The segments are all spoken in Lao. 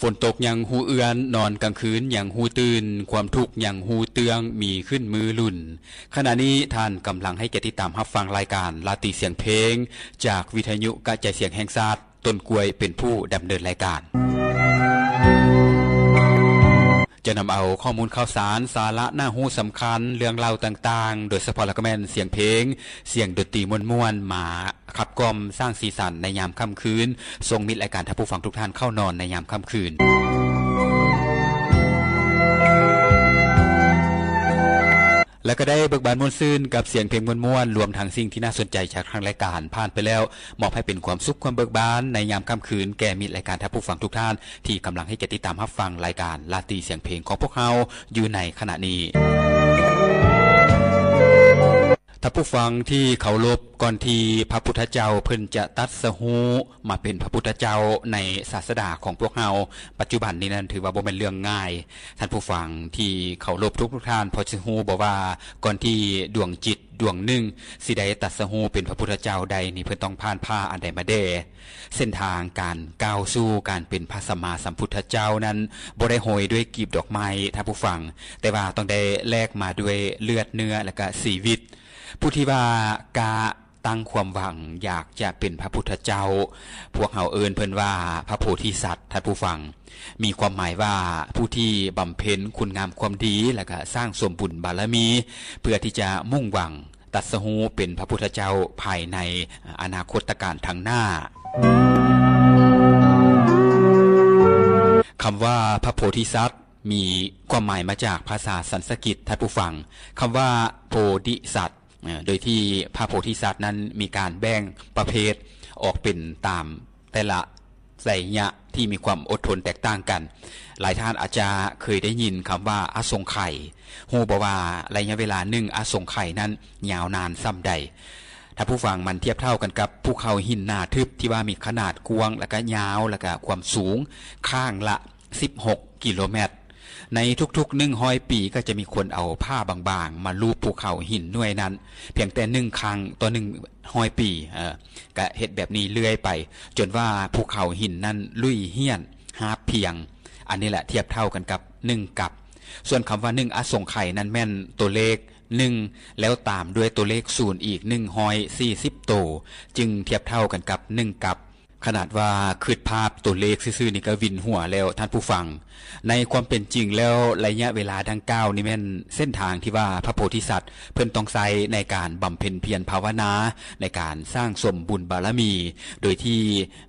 ຝົນຕົກຍັງຮູ້ເອື້ອນ, ນອນກາງຄືນຍັງຮູ້ຕື່ນ, ຄວາມທຸກຍັງຮູ້ເຕື້ອງ, ມີຂຶ້ນມື້ລຸນ. ຂະນະນີ້ທ່ານກຳລັງໃຫ້ກຽດຕິດຕາມຮັບຟັງລາຍການລາຕີສຽງເພງ ຈາກວິທະຍຸກະຈາຍສຽງແຫ່ງຊາດ, ຕົ້ນກ້ວຍເປັນຜູ້ດຳເນີນລາຍການ. ຈະນຳເອົາຂໍ້ມູນຂ່າວສານ, ສາລະໜ້າຮູ້ສຳຄັນ, ເລື່ອງລາວຕ່າງໆ, ໂດຍສະເພາະແລ້ວກໍແມ່ນສຽງເພງ, ສຽງດົນຕີມ່ວນໆ ມາ ຂັບກ່ອມສ້າງສີສັນໃນຍາມຄ່ຳຄືນ, ສົ່ງມິດລາຍການທ່ານຜູ້ຟັງທຸກທ່ານເຂົ້ານອນໃນຍາມຄ່ຳຄືນ ແລະ ກໍໄດ້ເບີກບານມ່ວນຊື່ນກັບສຽງເພງມ່ວນໆ, ລວມທັງສິ່ງທີ່ໜ້າສົນໃຈຈາກທາງລາຍການຜ່ານໄປແລ້ວ, ມອບໃຫ້ເປັນຄວາມສຸກຄວາມເບີກບານໃນຍາມຄ່ຳຄືນ ແກ່ມິດລາຍການທ່ານຜູ້ຟັງທຸກທ່ານ ທີ່ກຳລັງໃຫ້ກຽດຕິດຕາມຮັບຟັງລາຍການລາຕີສຽງເພງຂອງພວກເຮົາຢູ່ໃນຂະນະນີ້. ທ່ານຜູ້ຟັງທີ່ເຄົາລົບ, ກ່ອນທີ່ພະພຸດທະເຈົ້າເພິ່ນຈະຕັດສະຮູ້ມາເປັນພະພຸດທະເຈົ້າໃນສາສະດາຂອງພວກເຮົາປັດຈຸບັນນີ້ນັ້ນ ຖືວ່າບໍ່ແມ່ນເລື່ອງງ່າຍ. ທ່ານຜູ້ຟັງທີ່ເຄົາລົບທຸກໆທ່ານ ພໍຈະຮູ້ບໍ່ວ່າ ກ່ອນທີ່ດວງຈິດດວງໜຶ່ງຊິໄດ້ຕັດສະຮູ້ເປັນພະພຸດທະເຈົ້າໄດ້ນີ້ ເພິ່ນຕ້ອງຜ່ານຜ່າອັນໃດມາແດ່? ເສັ້ນທາງການກ້າວສູ່ການເປັນພະສຳມາສຳພຸດທະເຈົ້ານັ້ນ ບໍ່ໄດ້ໂຮຍດ້ວຍກີບດອກໄມ້, ທ່ານຜູ້ຟັງ, ແຕ່ວ່າຕ້ອງໄດ້ແລກມາດ້ວຍເລືອດເນື້ອ ແລະ ກະຊີວິດ. ຜູ້ທີ່ວ່າກະຕັ້ງຄວາມຫວັງຢາກຈະເປັນພະພຸດທະເຈົ້າ, ພວກເຮົາເອີ້ນເພິ່ນວ່າພະໂພທິສັດ, ທ່ານຜູ້ຟັງ. ມີຄວາມໝາຍວ່າ ຜູ້ທີ່ບຳເພັນຄຸນງາມຄວາມດີ ແລະ ກະສ້າງສົມບຸນບາລະມີ ເພື່ອທີ່ຈະມຸ່ງຫວັງ ຕັດສະຮູ້ເປັນພະພຸດທະເຈົ້າພາຍໃນອະນາຄົດຕະການທາງໜ້າ. ຄຳວ່າພະໂພທິສັດ ມີຄວາມໝາຍມາຈາກພາສາສັນສະກິດ, ທ່ານຜູ້ຟັງ. ຄຳວ່າໂພທິສັດ, ໂດຍທີ່ພະໂພທິສັດນັ້ນມີການແບ່ງປະເພດອອກເປັນຕາມແຕ່ລະໄລຍະທີ່ມີຄວາມອົດທົນແຕກຕ່າງກັນ. ຫຼາຍທ່ານອາດຈະເຄີຍໄດ້ຍິນຄຳວ່າອະສົງໄຂ. ຮູ້ບໍ່ວ່າໄລຍະເວລາໜຶ່ງອະສົງໄຂນັ້ນຍາວນານສ່ຳໃດ? ທ່ານຜູ້ຟັງ, ມັນທຽບເທົ່າກັນກັບພູເຂົາຫີນໜາທຶບທີ່ວ່າມີຂະໜາດກວ້າງ ແລະກະຍາວ ແລະກະຄວາມສູງຂ້າງລະສິບຫົກກິໂລແມັດ. ໃນທຸກໆໜຶ່ງຮ້ອຍປີ ກໍຈະມີຄົນເອົາຜ້າບາງໆມາລູບພູເຂົາຫີນໜ່ວຍນັ້ນ ພຽງແຕ່ໜຶ່ງຄັ້ງຕໍ່ໜຶ່ງຮ້ອຍປີ. ເອີ ກະເຮັດແບບນີ້ເລື້ອຍໄປ ຈົນວ່າພູເຂົາຫີນນັ້ນລຸຍຫ້ຽນຮາບພຽງ. ອັນນີ້ແຫຼະທຽບເທົ່າກັນກັບໜຶ່ງກັບ. ສ່ວນຄຳວ່າໜຶ່ງອະສົງໄຂນັ້ນແມ່ນຕົວເລກໜຶ່ງ ແລ້ວຕາມດ້ວຍຕົວເລກສູນອີກໜຶ່ງຮ້ອຍສີ່ສິບໂຕ ຈຶ່ງທຽບເທົ່າກັນກັບໜຶ່ງກັບ. ຂະໜາດວ່າຄິດພາບຕົວເລກຊື່ໆນີ້ກໍວິນຫົວແລ້ວ, ທ່ານຜູ້ຟັງ. ໃນຄວາມເປັນຈິງແລ້ວ ໄລຍະເວລາດັ່ງກ່າວນີ້ແມ່ນເສັ້ນທາງທີ່ວ່າພະໂພທິສັດເພິ່ນຕ້ອງໃຊ້ໃນການບຳເພັນພຽນພາວະນາ, ໃນການສ້າງສົມບຸນບາລະມີ, ໂດຍທີ່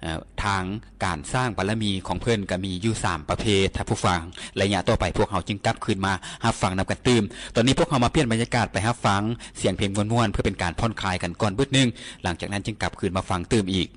ເອີ ທາງການສ້າງບາລະມີຂອງເພິ່ນກໍມີຢູ່ສາມປະເພດ, ທ່ານຜູ້ຟັງ. ໄລຍະຕໍ່ໄປພວກເຮົາຈຶ່ງກັບຄືນມາຮັບຟັງນຳກັນຕື່ມ. ຕອນນີ້ພວກເຮົາມາປ່ຽນບັນຍາກາດໄປຮັບຟັງສຽງເພງມ່ວນໆ ເພື່ອເປັນການຜ່ອນຄາຍກັນກ່ອນບຶດໜຶ່ງ, ຫຼັງຈາກນັ້ນຈຶ່ງກັບຄືນມາຟັງຕື່ມອີກ.